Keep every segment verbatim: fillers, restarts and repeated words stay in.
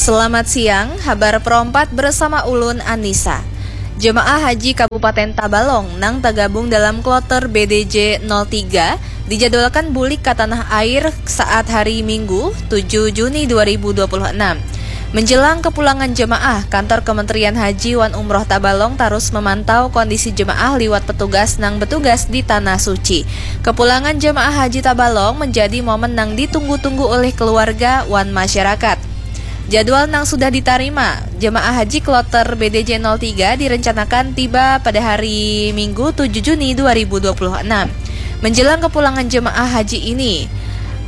Selamat siang, habar perompat bersama ulun Anissa. Jemaah Haji Kabupaten Tabalong nang tergabung dalam kloter B D J nol tiga dijadwalkan bulik ke tanah air saat hari Minggu, tujuh Juni dua ribu dua puluh enam. Menjelang kepulangan jemaah, kantor Kementerian Haji wan Umroh Tabalong terus memantau kondisi jemaah liwat petugas nang bertugas di Tanah Suci. Kepulangan jemaah Haji Tabalong menjadi momen nang ditunggu-tunggu oleh keluarga wan masyarakat. Jadwal nang sudah ditarima, jemaah haji kloter B D J nol tiga direncanakan tiba pada hari Minggu, tujuh Juni dua ribu dua puluh enam. Menjelang kepulangan jemaah haji ini,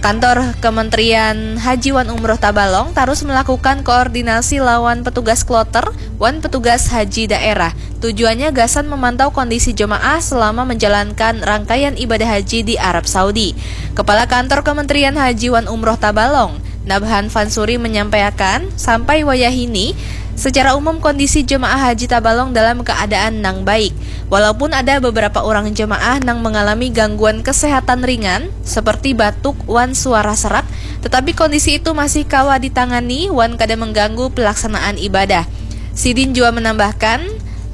kantor Kementerian Haji wan Umroh Tabalong terus melakukan koordinasi lawan petugas kloter wan petugas haji daerah. Tujuannya gasan memantau kondisi jemaah selama menjalankan rangkaian ibadah haji di Arab Saudi. Kepala Kantor Kementerian Haji wan Umroh Tabalong, Nabhan Fansuri menyampaikan, sampai wayahini, secara umum kondisi jemaah haji Tabalong dalam keadaan nang baik. Walaupun ada beberapa orang jemaah nang mengalami gangguan kesehatan ringan, seperti batuk wan suara serak, tetapi kondisi itu masih kawa ditangani wan kada mengganggu pelaksanaan ibadah. Sidin juga menambahkan,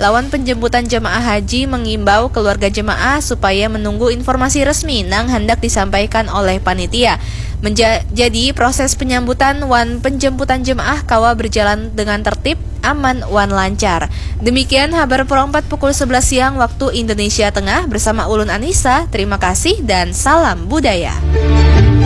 lawan penjemputan jemaah haji mengimbau keluarga jemaah supaya menunggu informasi resmi nang hendak disampaikan oleh panitia. Menja- jadi, proses penyambutan wan penjemputan jemaah kawa berjalan dengan tertib, aman, wan lancar. Demikian habar perompat pukul sebelas siang waktu Indonesia Tengah bersama ulun Anissa. Terima kasih dan salam budaya.